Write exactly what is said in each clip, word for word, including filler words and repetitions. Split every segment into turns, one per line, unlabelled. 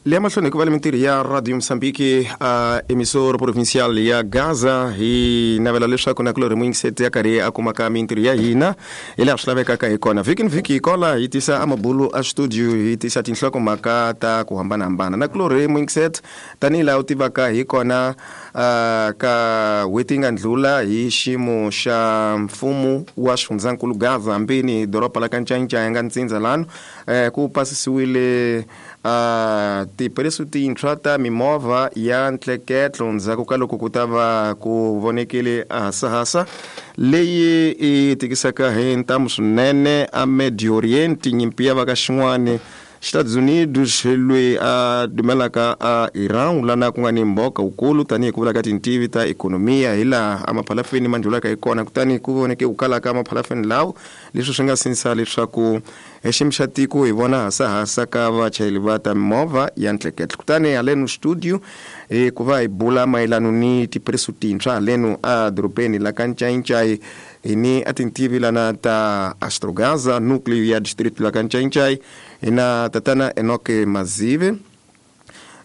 Le mahlweni ku va le mintirho ya Radio Mozambique a emissora provincial ya Gaza hi navela leswaku na kulorhi muyingiseti ya karhi a kumaka mintirho ya hina hi laha swi lavekaka hi kona vhiki ni vhiki hi kola hi tisa amabulu a studio hi tisa tinhlokomhaka ta ku hambanahambana na kulorhi muyingiseti tanihi laha u tivaka hi kona uh, ka n'hweti yi nga ndlula hi xiyimo xa mfumo wa xifundzankulu Gaza hambini doroba la ka Ncayincaya nga ntsindza lano eh, ku pasisiwile uh, tipresu tintshwa ta mimovha ya ntleketlo ndzhaku ka loko ku ta va ku vonekile hasahasa leyi i tikisaka hi ntamu swinene a Medio Oriente nyimpi ya va ka xin'wani Estados Unidos loyi a dumelaka a Iran lana ku nga ni mboka wukulu tanihi ku vula ka tintivi ta ikhonomiya hi laha amaphalafeni ma ndlulaka hi kona kutani ku voneke ku kala ka maphalafeni lawo leswi swi nga sindzisa leswaku hi xiyimo xa tiko hi vona hasahasa ka vachayeri va ta mimovha ya ntleketlo kutani haleno studio hi ku va hi bula mayelano ni tipresu tintshwa haleno a dorobeni la ka Ncayincai hi ni a tintivi lana ta Astrogaza núcleo ya distrito la ka Ncayincai hi na tatana Enoke Mazive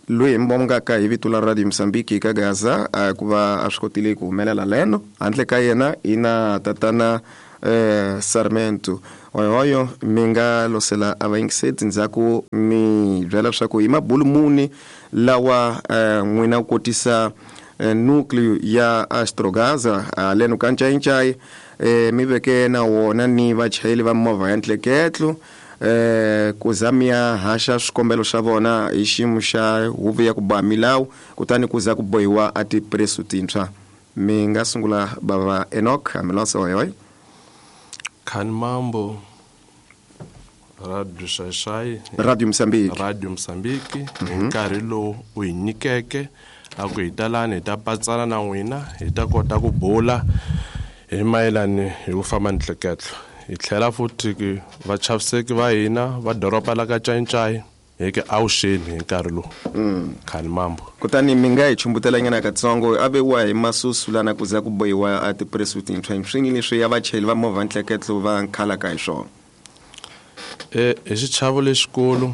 loyi hi mbongaka hi vito la Radio Mozambique ka Gaza ku va a swi kotile ku humelela leno handle ka yena hi na tatana eh, Sarmento oyoyo mi nga losela a vayingiseti ndzhaku mi byela leswaku hi mabulu muni lawa eh, n'wina ku kotisa eh, núcleo ya Astrogaza haleno ka Ncayincai eh, mi veke na wona ni vachayeri va mimovha ya ntleketlo eh ku za mi ya haxa swikombelo swa vona hi xiyimo xa huvo ya ku boha milawu kutani ku za ku bohiwa a tipresu tintshwa mi nga sungula bava Enoch Amilosa oyoyo
Khani mambo Radio Xaxai
Radio Mozambique
Radio Mozambique hi nkarhi lowu u hi nyikeke a ku hi ta lani hi ta patsana na n'wina hi ta kota ku bula hi mayelani hi ku famba ntleketlo hi tlhela futhi ki vachaviseki va hina va doroba la ka Ncayincai hi ke awuxeni hi nkarhi lowu khani mambo
kutani mi nga hi chumbutela nyana katsongo a vewa hi masusu lana ku za ku bohiwa a tipresu tintshwa hi swini leswi ya vachayeri va movha ntleketlo va nkhalaka hi swona
e hi xichavo lexikulu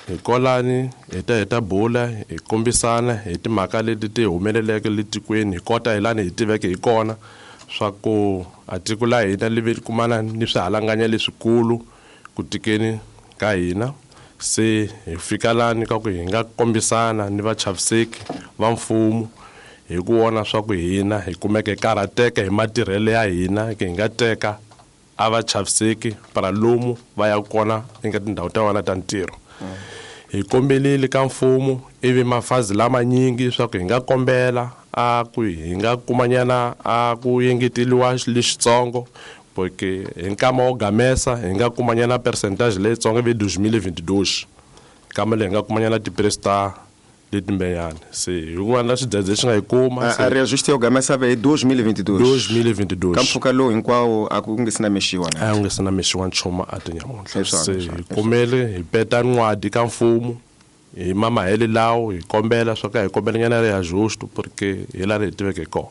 hi kolani hi ta hi ta bula hi kombisana hi timhaka leti ti humeleleke le tikweni hi kota hi lani hi tiveke hi kona swa ku a tiko la hina li ve kumana ni swihalanganya leswikulu ku tikeni ka hina se hi fika lani ka ku hi nga kombisana ni vachaviseki va mfumo hi ku vona swa ku hina hi kumeke hi karhateka hi matirhelo ya hina hi nga teka a vachaviseki para lomu va ya kona eka tindhawu ta vona ta ntirho hi kombelile ka mfumo ivi mafazi lamanyingi swa ku hi nga kombela a ku hi nga kumanyana a ku engeteliwa lexitsongo porque hi nkama wo gamesa hi nga kumanyana percentage leyitsongo ivi dois mil e vinte e dois kama leyi hi nga kumanyana tipresu ta letimbenyana se hi ku na xidzedze xi nga hi kuma
a reajuste yo gamesa ve hi dois mil e vinte e dois
dois mil e vinte e dois
ka mpfhuka lowu hinkwawo a ku nge se na mexiwa
na a ku nge se na mexiwa nchumu a tinyamuntlha
Leswaku,
se
leswaku,
hi kumele hi peta nwadi ka mfumo hi mamahele lawo hi kombela swa ka hi kombela nyana reajuste porque hi laha hi tiveke hi kona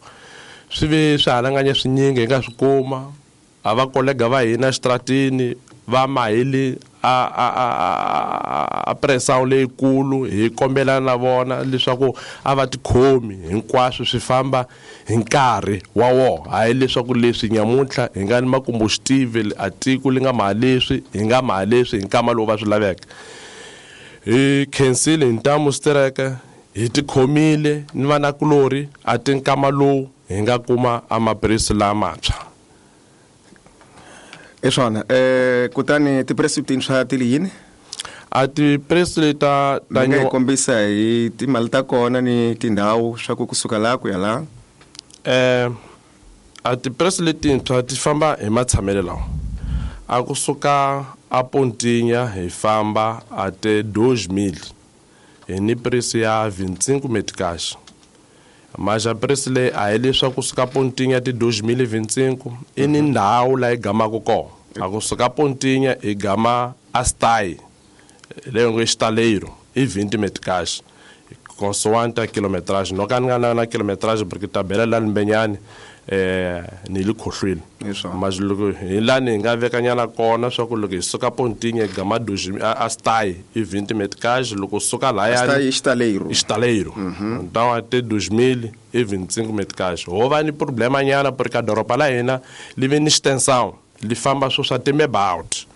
swi ve swihalanganya swinyingi hi nga swi kuma a va kolega va hina exitratini va maheli a a a a pressure leyikulu hi kombela na vona leswaku a va tikhomi hinkwaswo swi famba hi nkarhi wa wona hayi leswaku leswi nyamuntlha hi nga ni makomboxitive a tiko li nga maha leswi hi nga maha leswi hi nkama lowu va swi laveke hi khensile hi ntamu xitereke hi tikhomile ni vanakulorhi a ti nkama lowu hi nga kuma amapresi lamantshwa
hi swona eh kutani tipresu tintshwa ti li yini
a tipresu leti ta ta
mi nga hi
nyo-
kombisa hi timali ta kona ni tindhawu swa ku kusuka laha ku ya laha
eh a tipresu letintshwa ti famba hi matshamelo lawa a kusuka a Pontinha hi famba a te dois mil hi ni preço ya vinte e cinco meticais mas a preço leyi a hi leswaku kusuka Pontinha ti dois mil e vinte e cinco i ni ndhawu laha hi gamaka kona a kusuka Pontinha hi gama a Stai leyi ngo Estaleiro i vinte meticais consoante a quilometragem no ka ni nga na na quilometragem porque tabela la Mbenyani eh ni le khohlweni mas loko hi lani hi nga vekanyana kona swa ku loko hi suka Pontinha hi gama dois a stai i vinte meticais loko suka laya
stai estaleiro
estaleiro então até dois mil e vinte e cinco meticais ho va ni problema nyana porque a doroba la hina li ve ni extensão li famba swo swa timebaut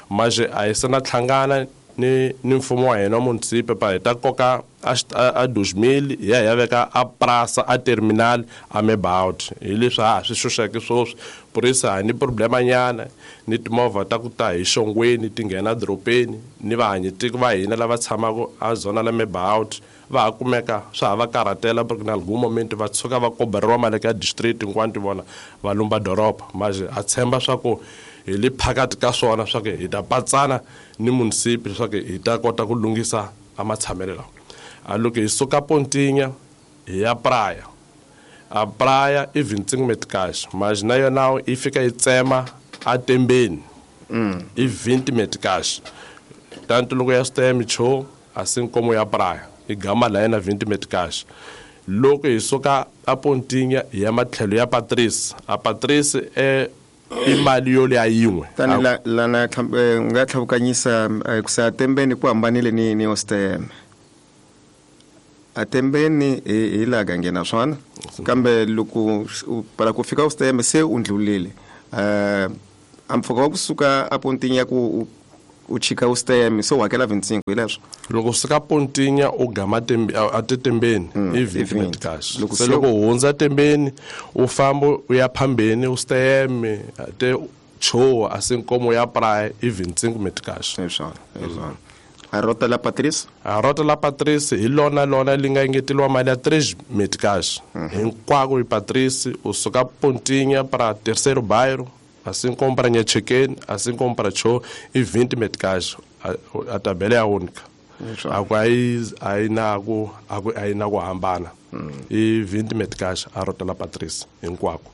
mas a hi se na hlangana ni ni mfumo wa hina munisipe pa hi ta koka a, a dois mil ya ya veka a praça a terminal a mebaut hi leswi ha swi xuxeke sweswi por isso a ni problema nyana ni timovha ta ku ta hi xongweni ti nghena dorobeni ni vahanyitiko va hina lava tshamaka a zona la mebaut va ha kumeka swa ha va karhatela porque na algum momento va tshuka va koberiwa mali ka district hinkwato vona va lumba doroba mas a tshemba swa ku hi le phakathi ka swona swa ku hi ta patsana ni munisipi leswaku hi ta kota ku lunghisa a matshamelo lawa a loko hi suka Pontinha hi ya praia a praia i vinte e cinco meticais mas na yona yi fika yi tsema a tembeni i vinte meticais tanto loko ya stem cho assim como ya praia i gama la yena vinte meticais loko hi suka a Pontinha hi ya matlhelo ya Patrice a Patrice e i mali yo leya yin'we
tani la lana nga tlhavukanyisa ku sa tembeni ku hambanile ni ni ostem a tembeni hi la gangena swona kambe loko para ku fika ostem se u ndlulile eh a mpfhuka wa kusuka a Pontinha ku u chika ostem se u hakela vinte e cinco hi leswo
loko suka Pontinha u gama tembe a tembeni i vinte meticais se loko u hundza tembeni u famba u ya phambeni u stem te cho assim como ya praia i vinte e cinco meticais
hi swona hi swona a rota la Patrice
a rota la Patrice hi lona lona li nga engeteliwa mali ya três meticais hinkwako hi Patrice u suka Pontinha para terceiro bairro assim como para Nhachequene, assim como para Cho, e vinte meticais, a, a tabela é a única. A aí aí na aí na hambana. E vinte meticais a rota la Patrice hinkwako.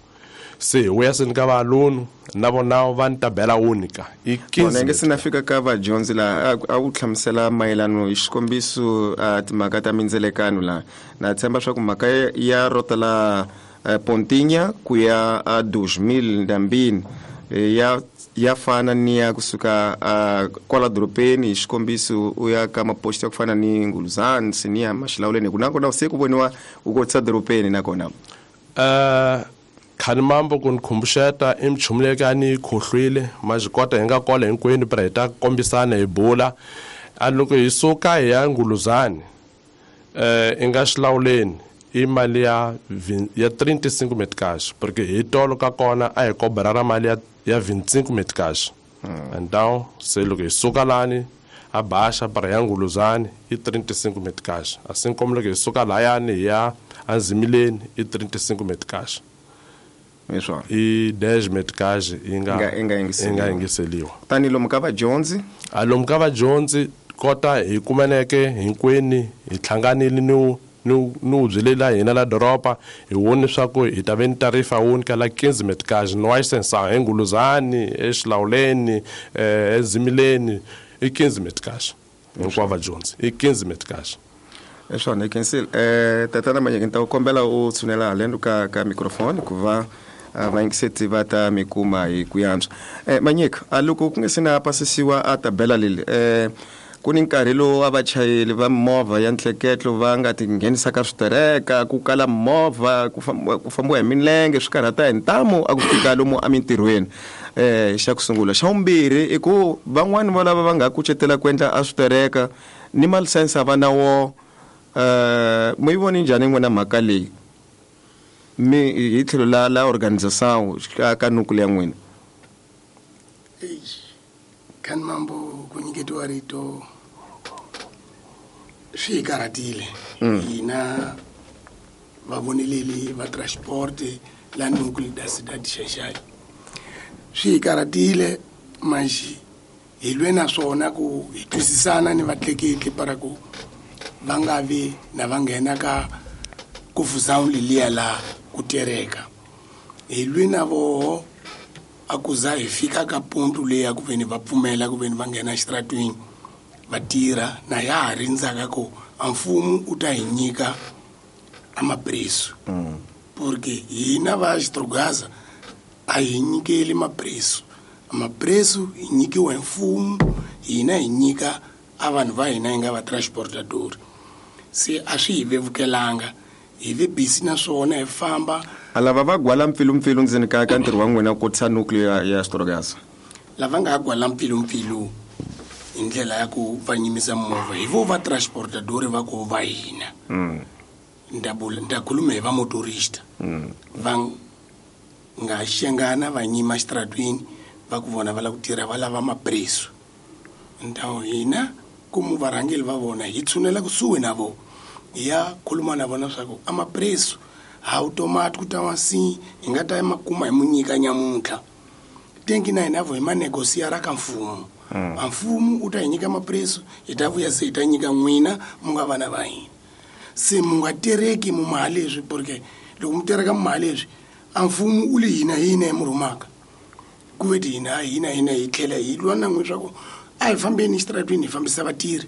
Se o essa ni ka aluno, na vona va ni tabela única. E quinze.
Nge sina fika ka va Jones la a wu hlamusela mayelano hi xikombiso a timhaka ta mindzelekano la. Na tshemba swa ku mhaka ya rota la Pontinha ku ya a dois mil ndambini ya ya fana ni ya kusuka kwala dorobeni hi xikombiso u ya ka maposto ya ku fana ni Nguluzani Sinia Maxilawuleni ku nakona se ku voniwa u kotisa dorobeni nakona
eh khani mambo ku ni khumbuxeta i minchumu leyi ka ni yi khohlwile mas kota hi nga kola hinkwenu pra hi ta kombisana hi bula a loko hi suka hi ya Nguluzani eh i nga Xilawuleni i mali ya ya trinta e cinco meticais porque hi tolo ka kona a hi kobera ra mali ya ya vinte e cinco meticais então se loko hi suka lani a baixa para ya Nguluzani i trinta e cinco meticais assim como loko hi suka layani hi ya Anzimileni i trinta e cinco meticais
hi
i dez meticais yi nga
yi
nga yingiseliwa
tani lomu ka vadyondzi
a lomu ka vadyondzi kota hi kumaneke hinkwenu hi hlanganile ni ni ni u byelela hina la doroba hi woni swa ku hi ta ve ni tarifa wuni ka la quinze meticais no extensão hi Nguluzani eXilawuleni eZimileni i quinze meticais hinkwavo vadyondzi i quinze meticais
hi swona hi khensile eh tatana Manyike ni ta ku kombela u tshunela haleno ka ka microphone ku va vayingiseti va ta mi kuma hi ku yantswa eh Manyike a loko ku nga se na pasisiwa a tabela leli eh ku ni nkarhi lowu a vachayeri va movha ya ntleketlo va nga tinghenisa ka switereka ku kala movha ku fambiwa hi milenge swi karhata hi ntamu a ku fika lomu emintirhweni eh xa ku sungula xa vumbirhi i ku van'wani va lava va nga kucetela ku endla a switereka ni malisense a va na wo eh mi yi voni njhani n'wina mhaka leyi mi hi tlhelo la la organization ka ka nuku ya n'wina
Kan mambo ku nyiketiwa rito swi hi karhatile hina vavoneleli va transport la núcleo da cidade de Xai-Xai swi hi karhatile manjhe hi lwe na swona ku hi twisisana ni vatleketli para ku va nga vi na va nghena ka confusão leliya la ku tereka hi lwe na voho a ku za hi fika ka ponto leyi ya ku veni va pfumela ku veni va nghena exitaratweni va tirha na ya ha rindzaka ku a mfumo u ta hi nyika a mapreço Porque hina va Xitrugaza a hi nyikeli mapreso. Mapreso hi nyikiwa hi mfumo, hina hi nyika a vanhu va hina hi nga va transportador. Se a swi hi vevukelanga, hi ve busy na swona hi famba.
A lava va gwala mpfilumpfilu ndzeni ka ka ntirho wa n'wina ku kotisa nuclear ya Xitrugaza.
Lava nga gwala mpfilumpfilu hi ndlela ya ku va nyimisa movha hi vo va transportador va ku va hina.
Mm.
Ndabula ndakhuluma hi va motorista.
Mm.
Va nga xengana va nyima xitratwini va ku vona va lava ku tirha va lava mapreso. Ndhawu hina ku varhangeli va vona hi tshunela kusuhi na vona hi ya khuluma na vona swa ku a mapreso ha automatic ku ta wa si hi nga ta ma kuma hi mu nyika nyamuntlha. Tenki na hina vo hi ma negosiara ka mfumo.
Mm.
A mfumo u ta hi nyika mapreso hi ta vuya se hi ta nyika n'wina mu nga vana va hina. Se mu nga tereki mu mali leswi porque loko mu tereka mu mali leswi a mfumo u li hina hina hi mu rhumaka. Ku ve ti hina hina hina hi tlhela hi lwa na n'wi swa ku a hi fambeni xitaratwini hi fambisa vatirhi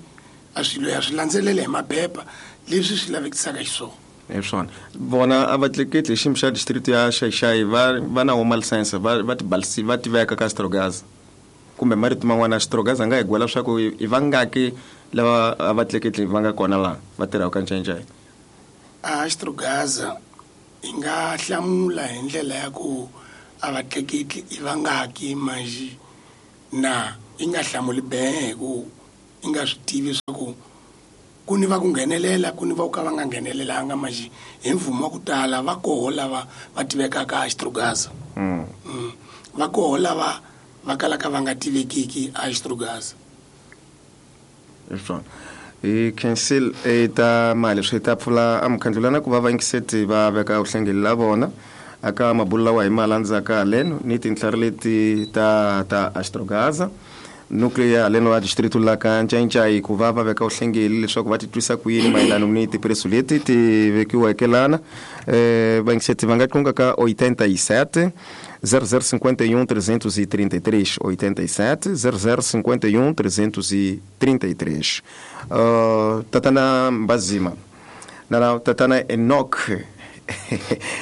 a swilo ya swi landzelela hi maphepha leswi swi lavekisaka xiswona.
Hi swona vona a va tleketli xiyimo xa district ya Xai-Xai va va na woma license va va tibalisi va tiveka ka Xitrugaza kumbe marito man'wana Xitrugaza nga hi gwela swa ku i vangaki lava a va tleketli va nga kona laha va tirhaka ka Ncayincaya.
A Xitrugaza hi nga hlamula hi ndlela ya ku a va tleketli i vangaki manjhe na i nga hlamuli behe ku i nga swi tivi swa ku ku ni va ku nghenelela ku ni va ku ka va nga nghenelelanga manjhe hi mvumo wa ku tala va koho lava va tivekaka a Xitrugaza.
Mm.
Mm. Va koho lava va kalaka va nga tivekiki a Xitrugaza.
Hi swona. Hi cancel e ta mali swi ta pfula a mukhandlulana ku va va yingiseti va veka vuhlengeli la vona aka mabulo lawa hi ma landzaka haleno ni tintlhari leti ta ta Xitrugaza nuclear haleno wa district la ka Ncayincaya ku va va veka vuhlengeli leswaku va titwisa ku yini mayelana ni tipreso leti ti vekiweke lana. Eh va yingiseti va nga qunga ka oitenta e sete zero zero cinquenta e um trezentos e trinta e três, oitenta e sete zero zero cinquenta e um trezentos e trinta e três. Uh, Tatana Mbazima. Nana Tatana Enoch.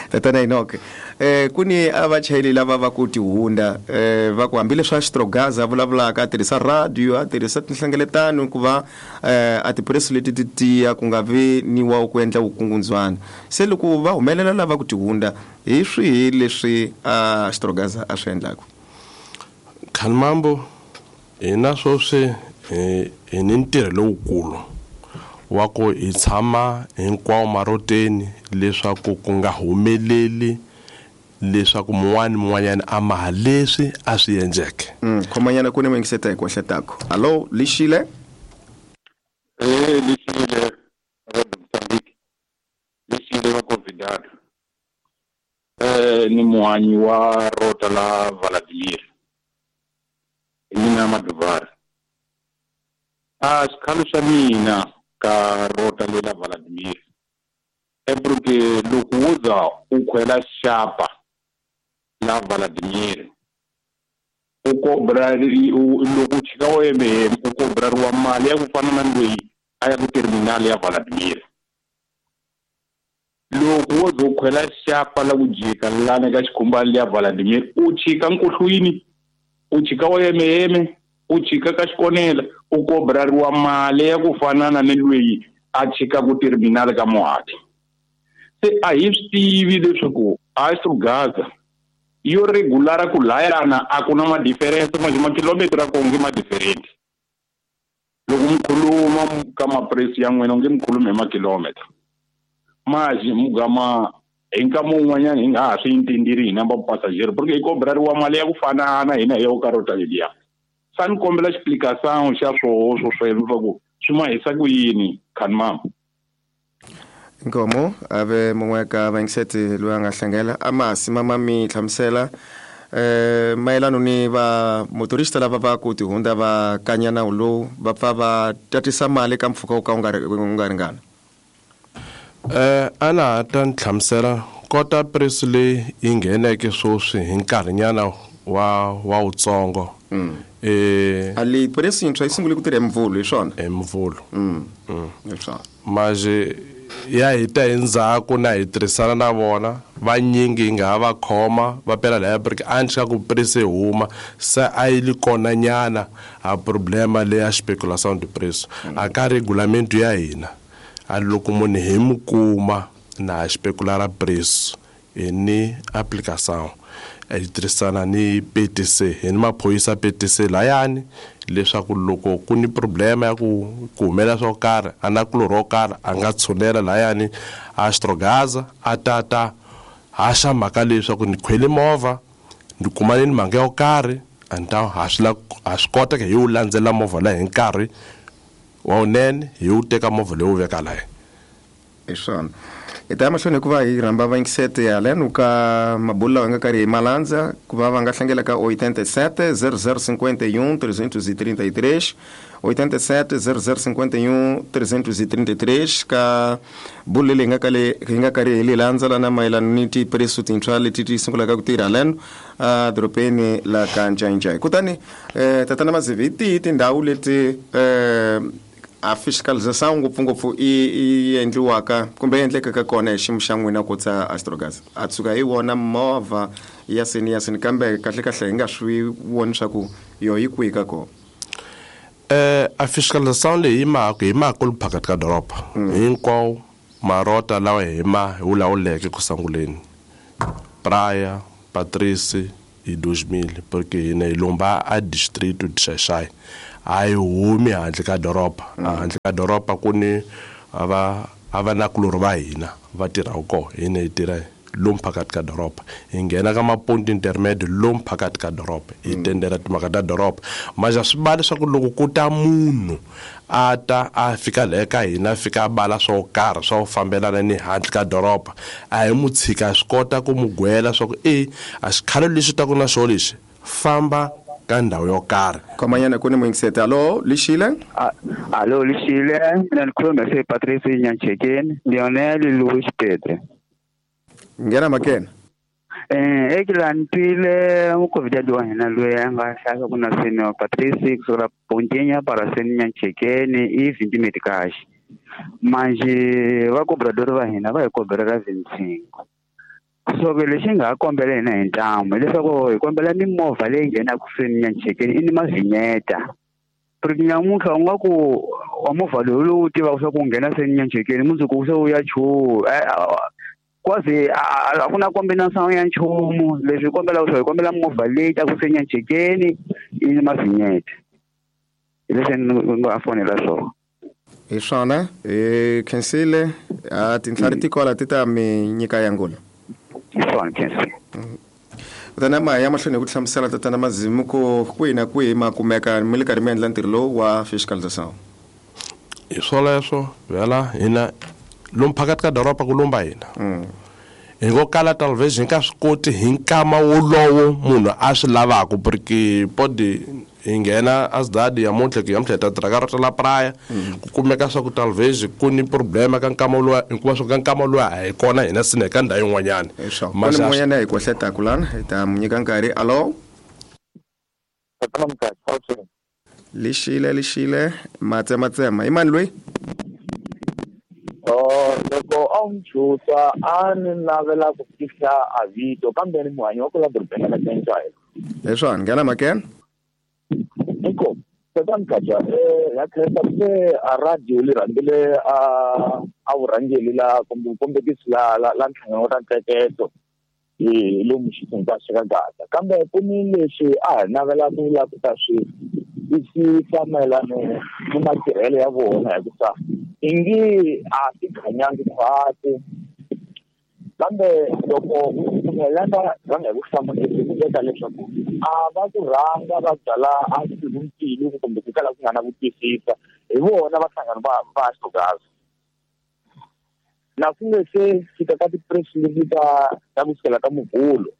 Tatana Enoch. Eh kuni a vachayeri lava va ku tihunda eh va ku hambileswi a Xitrugaza vulavulaka a tirhisa radio a tirhisa tinhlengeletano ku va eh a tipreso leti ti tiya ku nga vi ni wa ku endla vukungundzwana. Se loko va humelela lava ku tihunda hi swihi leswi a Xitrugaza a swi endlaka?
Khanmambo hina sweswi hi hi ni ntirho lowukulu wa ku hi tshama hinkwawo maroteni leswaku ku nga humeleli leswaku mun'wana mun'wanyana a maha leswi a swi endleke.
Mm, khomanyana ku ni yingiseta hi ku ehletako. Hallo, Lixile?
Eh, Lixile, Radio Mozambique. Lixile wa convidado. Eh, ni muhanyi wa rota la Vladimir. Mina Maduvar. Ah, xikhalo xa mina ka rota lela Vladimir. É porque loko wo za u khwela xapa la Vladimir u kobra loko u chika o M M u kobrariwa mali ya ku fana na loyi a ya ku terminal ya Vladimir. Loko wo za u khwela xapa la ku jika lana ka xikhumbani ya Vladimir u chika nkuhlwini u chika o M M u chika ka xikonela u kobrariwa mali ya ku fana na loyi a chika ku terminal ka Mohadi. Se a hi swi tivi leswaku a Xitrugaza yo regular ku layana a ku na ma difference manje makilometer a konge ma different. Loko mi khuluma ka mapresi ya n'wina nge mi khulumi hi makilometer maji mugama hi nkama wun'wanyana hi nga ha swi intendiri hina va passager porque hi kobrariwa mali ya ku fanana hina hi yo ka rota leliya. Sa ni kombela explicação xa swoho swo sweswo swa ku swi ma hisa ku yini Khanmambo.
Inkomo ave mongwe ka vayingiseti loyi a nga hlengela a masi mama mi hlamusela eh mayelano ni va motorista lava va ku tihunda va kanya nawu lowu va pfa va tatisa mali ka mpfhuka wo ka wu nga ri wu nga ringana.
Eh ana ta nhlamusela kota preso leyi yi ngheneke sweswi hi nkarhinyana wa wa wutsongo.
Mm.
Eh
ali preso yintshwa yi sungule ku tirha hi Mvhulu hi swona?
Hi Mvhulu.
Mm.
Mm.
Hi swona.
Manje ya hita hi ndzhaku na hi tirhisana na vona vanyingi hi nga ha va khoma va pela laya porque a ni ku preço huma se a yi li kona nyana a problema leya speculação de preço a ka regulamento ya hina a loko munhu hi mu kuma na specular preço hi ni aplicação hi tirhisana ni P T C hi ni maphorisa P T C layani leswaku loko ku ni problema ya ku ku humelela swo karhi a na kulorhi wo karhi a nga tshunela layani a Astrogaza a tata haxa mhaka leswaku ni khwele movha ni kumane ni mhaka yo karhi a ni ta ha swi ha swi kota hi wu landzela movha laha hi nkarhi wa wunene hi wu teka movha leyi wu veka laya
hi swona hi ta ya mahlweni hikuva hi rhamba vayingisete haleno ka mabulu lawa hi nga karhi hi malandza ku va va nga hlangela ka oitenta e sete zero zero cinquenta e um trezentos e trinta e três oitenta e sete zero zero cinquenta e um trezentos e trinta e três ka bulu leri hi nga kale hi nga karhi hi li landza lana mayelana ni tipreço tintshwa leti ti sungulaka ku tirha haleno a dorobeni la ka Ncaincayi kutani eh, tatana Mazivi hi tihi tindhawu leti eh, a fiscalização ngopfungopfu i i endliwaka kumbe yi endlekaka kona hi xiyimo xa n'wina ku tsa Astrogas a tshuka hi vona movha ya sini ya sini kambe kahle kahle hi nga swi voni swa ku yo yi kwihi ka kona
eh a fiscalização leyi hi mhaka hi mhaka ku phakathi ka doroba hinkwawo marota lawa hi ma hi wu lawuleke ku sunguleni Praia Patrice hi dois mil porque hina hi lomba a distrito de Xaixai a yi humi handle ka doroba handle ka doroba ku ni va a va nakulorhi va hina va tirhaka kona hina hi tirha lomu phakathi ka doroba hi nghena ka maponto intermediate lomu phakathi ka doroba hi tendela timhaka ta doroba maja swi va leswaku loko ku ta munhu a ta a fika laha ka hina a fika a bala swo karhi swa ku fambelana ni handle ka doroba a hi mu tshika swi kota ku mu gwela swa ku e a xikhalo lexi taku na xo lexi famba ka ndhawu yo karhi
komanyana ku ni muyingiseti alo lixile
alo lixile mina ni khuluma se Patrice Nyanchekeni Lionel Louis Pedro
nghena makena
eh ekila ni twile mukovhidadi wa hina loyi a nga hlaya ku na seni Patrice kusukela Pontinha para seni Nyanchekeni i vinte meticais manje va cobrador va hina va hi koberela vinte e cinco so ke lexi nga ha kombela hina hi ntamu hileswaku hi kombela mimovha leyi nghenaka seni Nyanchekeni i ni mavinyeta porque nyamuntlha u nga ku wa movha lowu lowu tivaka swa ku nghena seni Nyanchekeni mundzuku se wu ya chuha quase a ku na combinação ya nchumu leswi hi kombelaka swo hi kombela movha leyi taku se Nyanchekeni i ni mavinyeta hi leswi ni nga fonela swona
hi swona hi khensile a tintlhari ti kola ti ta mi nyika ya ngula
swona khensile
tatana ma ya mahlweni hi ku hlamusela tatana Mazimu ku kwihi na kwihi ma kumeka mi le karhi mi endla ntirho lowu wa fiscalização
hi swoleswo vhela hina lomu phakathi ka doroba ku lomba hina hi ngo kala talvez hi nga swi koti hi nkama wolowo munhu a swi lavaka porque pode hi nghena a cidade ya muntlha ku yamuntlha hi ta tirha ka rota la praia ku kumeka swa ku talvez ku ni problema ka nkama luwa hikuva swa ka nkama luwa a hi kona hina sine ka ndhawu yin'wanyana
ku ni mun'wanyana hi kohletaku lana hi ta mu nyika nkarhi alo lixile lixile matsematsema i mani loyi
Oh, loko a wu nchusa a ni navela ku fihla a vito kambe ni muhanyi wa ku la dorobeni ra Ncaincayi
hi swona nghena makena
inkomu tatana Mkhatshwa eh ya khensa se a radio li rhangile a a vurhangeli la kumbe vukombekisi la la la nhlangano wa ntsheketo hi lomu xifundzha xa Gaza kambe ku ni leswi a hi navela ku la ku ta swi twisisa mayelana ni matirhelo ya vona hikuva ingi a ti khanyangi khwati kambe loko pfumelana rhanga hi ku hlamula ku veka leswaku a va ku rhanga va byala a mpfilumpfilu kumbe ku kala ku nga na ku twisisa hi vona va hlangano va va Astrogas na ku nge se fika ka ti-press leti ta ta ku sukela ka Muvhulo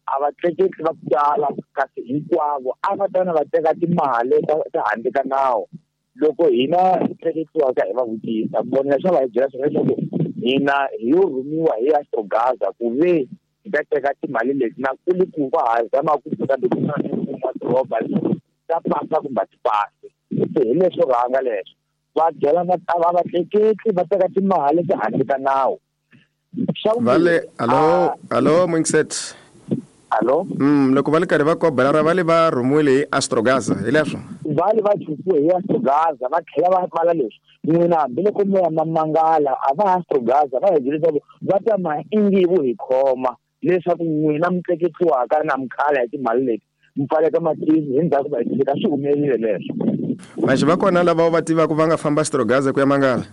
a va tleketli va ku tala kasi hinkwavo a va tana va teka timali ta ta handle ka nawu loko hina hi tleketliwaka hi va vutisa vona leswi va hi byela swona leswaku hina hi yo rhumiwa hi Astrogaza ku ve hi ta teka timali leti na ku li ku va ha zama ku fika loko ku na mfumo wa doroba leswaku ta pasa kumbe a ti pasi se hi leswo rhanga leswo Va byela va va vatleketli va teka timali ehandle ka nawu.
Vale, alo, alo Mwinset.
Alo.
Mm, loko va le karhi va kobelara va le va rhumiwile hi Astrogaza, hi leswo.
Va le va chukiwe hi Astrogaza, va tlhela va pfala leswi. N'wina hambiloko mi ya mamangala a va Astrogaza va hi byele leswaku va ta ma ingivu hi khoma leswaku n'wina mi tleketliwaka na mikhala hi timali leti mi pfaleka matini hi ndzhaku va hi tshika swi humelerile leswo.
Manje va kona lava va tivaka va nga famba Astrogaza ku ya mangala?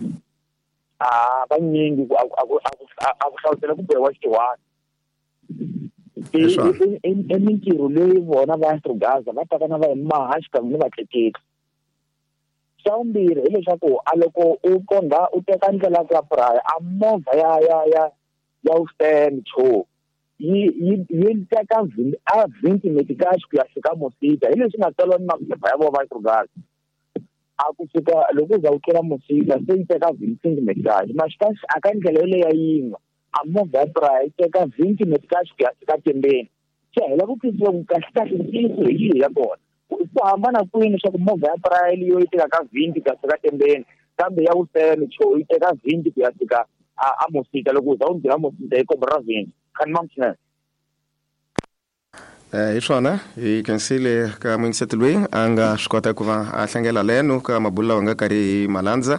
A vanyingi ku a ku a ku hlawutela ku bohiwa xitiwani. I mintirho leyi vona va Astrogaza va taka na va hi maha xikan'we ni vatleketli. Xa vumbirhi hileswaku a loko u kondza u teka ndlela ya ku ya Praia a movha ya ya ya ya Western Cho yi yi yi teka a twenty metikax ku ya fika Mosita hi leswi nga tsariwa ni maphepha ya vona va Astrogaza. A ku fika loko u za u tlula Mosita se yi teka twenty metikax maxikax a ka ndlela yoleyo ya yin'we a movha ya Praia yi teka twenty metikax ku ya fika Tembeni. Se hi lava ku twisisa ku kahle kahle ntiyiso hi yihi ya kona. Ku hambana kwini leswaku movha ya Praia leyo yi teka ka twenty ku ya fika Tembeni kambe ya Western Cho yi teka twenty ku ya fika a Mosita loko u za u nghena Mosita yi komba ra twenty. Khan mam
Eh hi swona hi khensile ka Mwinset loyi a nga swi kota ku va a hlangela leno ka mabulo lawa nga karhi hi malandza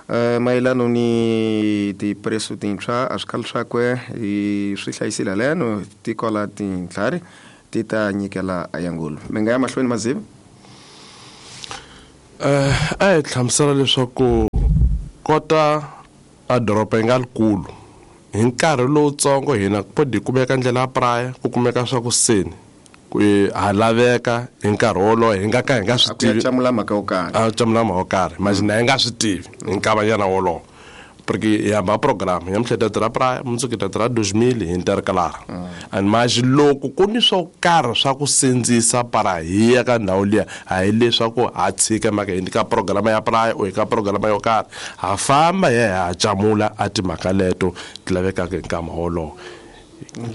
eh mayelano ni tipreso tintshwa a swikhalo swakwe hi swi hlayisile leno tikola tintlhari ti ta nyikela ayangulu. Mi nga ya mahlweni Maziva?
Eh a hi hlamusela leswaku kota a doroba yi nga likulu hi nkarhi lowutsongo hina po di kumeka ndlela ya Praia ku kumeka swa ku seni ku ha laveka hi nkarhi wolowo hi nga ka hi nga swi tivi
camula mhaka yo karhi
a camula mhaka yo karhi manje na hi nga swi tivi hi nkavanyana wolowo porque hi hamba program ya mhleta ra Praia mundzuku hi ta ra dois mil hi intercalar and manje loko ku ni swo karhi swa ku sindzisa para hi ya ka ndhawu liya a hi leswaku ha tshika mhaka hi ka program ya Praia o hi ka program yo karhi ha famba hi ya ha camula a timhaka leto ti lavekaka hi nkama wolowo.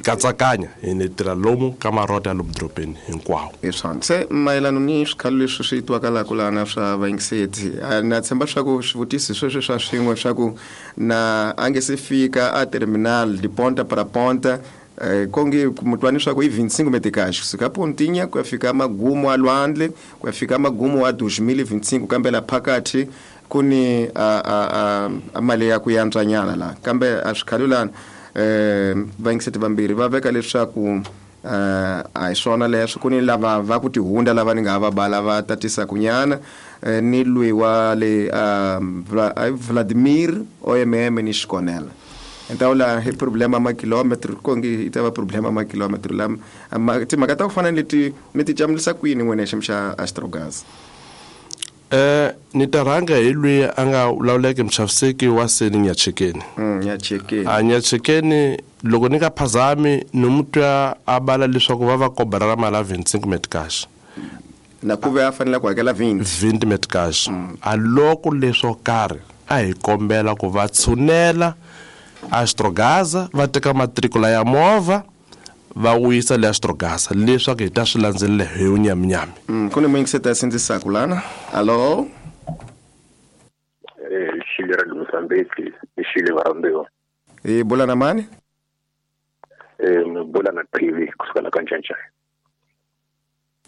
Katsakanya hi ni tirha lomu ka marota ya lomu dorobeni hinkwawo.
Hi swona se mayelano ni swikhalo leswi swi twakalaka lana swa vayingiseti na tshemba swa ku swivutiso sweswi swa swin'we swa ku na a nge se fika a terminal de ponta para ponta eh konge mutwani swa ku i vinte e cinco metikax kusuka Pontinha ku ya fika magumo a lwandle ku ya fika magumo a dois mil e vinte e cinco kambe la phakathi ku ni a a a mali ya ku yantswanyana la kambe a swikhalo lana eh vayingiseti vambirhi va veka leswaku eh a hi swona leswo ku ni lava va ku tihunda lava ni nga va bala va tatisa kunyana ni lwi wa le Vladimir O M M ni Xikonela. Entawula hi problema ma kilometro kongi yi ta va problema ma kilometro lama timhaka ta ku fana ni leti mi ti camulisa kwini n'wina xi xa Astrogas?
Eh ni ta rhanga hi lwi a nga lawuleki muxaviseki wa seni Nyachekeni.
Mm, Nyachekeni.
A Nyachekeni loko ni nga phazami ni mutwa a bala leswaku va va kobara ra mali ya vinte e cinco metcash.
Na ku ve a fanele ku hakela vinte.
vinte metcash. Mm. A loko leswo karhi a hi kombela ku va tshunela Astrogaza va teka matricula ya movha va wuyisa le Astrogaza leswaku hi ta swi landzelela hi unyaminyami.
Mm, ku ni muyingiseti a sindzisaka lana. Alo?
Eh, xile ra le Mozambique, i xile varhambiwa.
Hi bula na mani?
Eh, mi bula na T V kusuka la ka Ncancai.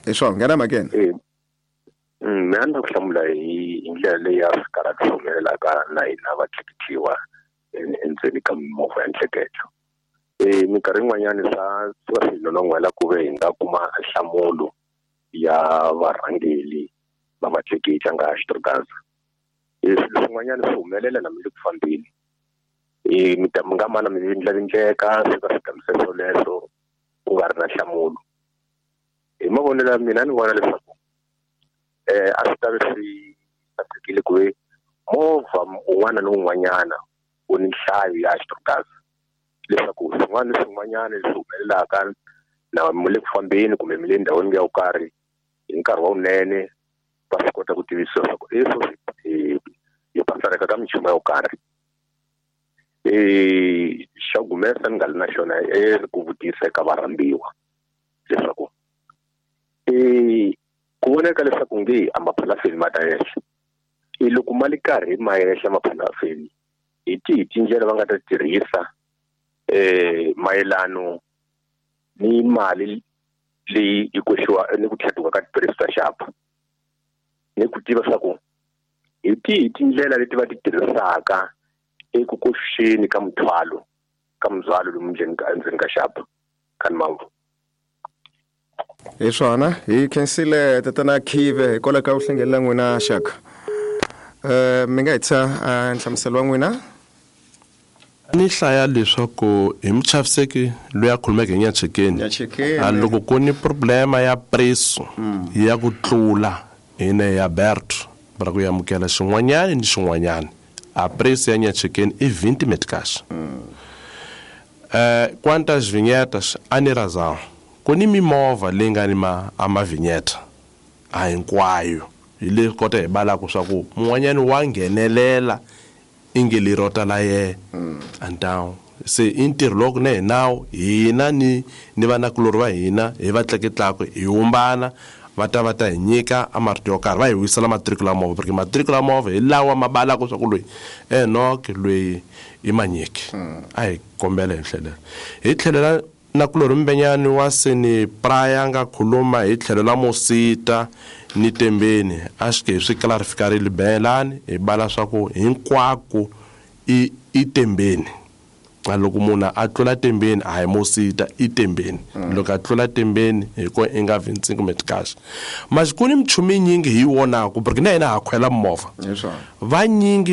Hi swona, nghena mhakeni.
Eh, mina ni ku hlamula hi hi ndlela leyi ya swikarhati swi humelelaka na hina vatleketliwa endzeni ka mimovha ya ntleketlo. Eh minkarhi yin'wanyana swa swa swi nonon'hwela ku ve hi nga kuma nhlamulo ya varhangeli va vatleketli nga Astrogaza. Eh swilo swin'wanyana swi humelela na mi le ku fambeni. Eh mi ta mi nga mana mi vindlavindleka swi va swi kambisisa swoleswo ku nga ri na nhlamulo. Hi mavonelo ya mina ni vona leswaku eh a swi ta ve swi sasekile ku ve movha un'wana ni un'wanyana wu ni nhlayo ya Astrogaza leswaku swin'wana ni swin'wanyana leswi humelelaka na mi le ku fambeni kumbe mi le ndhawini yo karhi hi nkarhi wa wunene va swi kota ku tivisiwa leswaku leswo hi hi pasareka ka minchumu yo karhi. Eh xa gumesa ni nga li na xona e ku vutisa eka varhambiwa leswaku eh ku voneka leswaku nge a maphalafeni ma ta henhla I loko mali karhi ma yehla maphalafeni hi tihi tindlela va nga ta tirhisa eh mayelano ni mali leyi yi koxiwa ni ku tlhatuka ka tiphirisi ta xapa ni ku tiva swa ku hi tihi tindlela leti va ti tirhisaka eku koxeni ka muthwalo ka muzwalo lomu ndzeni ka endzeni ka xapa ka Mamvu.
Hi swona hi khensile tatana Khive hikwalaho ka ku hlengelela n'wina xaka. Eh mi nga hetisa nhlamuselo wa n'wina?
Ni hlaya leswaku hi muchaviseki loyi a khulumeke hi Nyachekeni a loko ku ni problema ya preso ya ku tlula ine ya Berto ra ku amukela xin'wanyana ni xin'wanyana a preço ya Nyachekeni i vinte meticais. Eh quantas vinhetas a ni razão ku ni mimovha leyi nga ni ma a mavinyeta a hinkwayo hi le kota hi balaka swa ku mun'wanyani wa nghenelela inge lerota la ye então se i ntirho loko ne hi nawu hina ni ni vanakulorhi va hina hi va tleketlaka hi humbana va ta va ta hi nyika a marito yo karhi va hi wisela matriku la movha porque matriku la movha hi lawa ma balaka swa ku loyi Enoch loyi i manyiki a hi kombela hi tlhelela hi tlhelela nakulorhi Mbenyani wa seni Praya nga khuluma hi tlhelo la Mosita ni Tembeni a xi ke swi clarificarile belani hi bala swa ku hinkwako i i Tembeni a loko munhu a tlula Tembeni a hi Mosita i Tembeni loko a tlula Tembeni hi ko i nga vinte e cinco meticais mas ku ni minchumu yinyingi hi yi vonaka porque na hina ha khwela movha vanyingi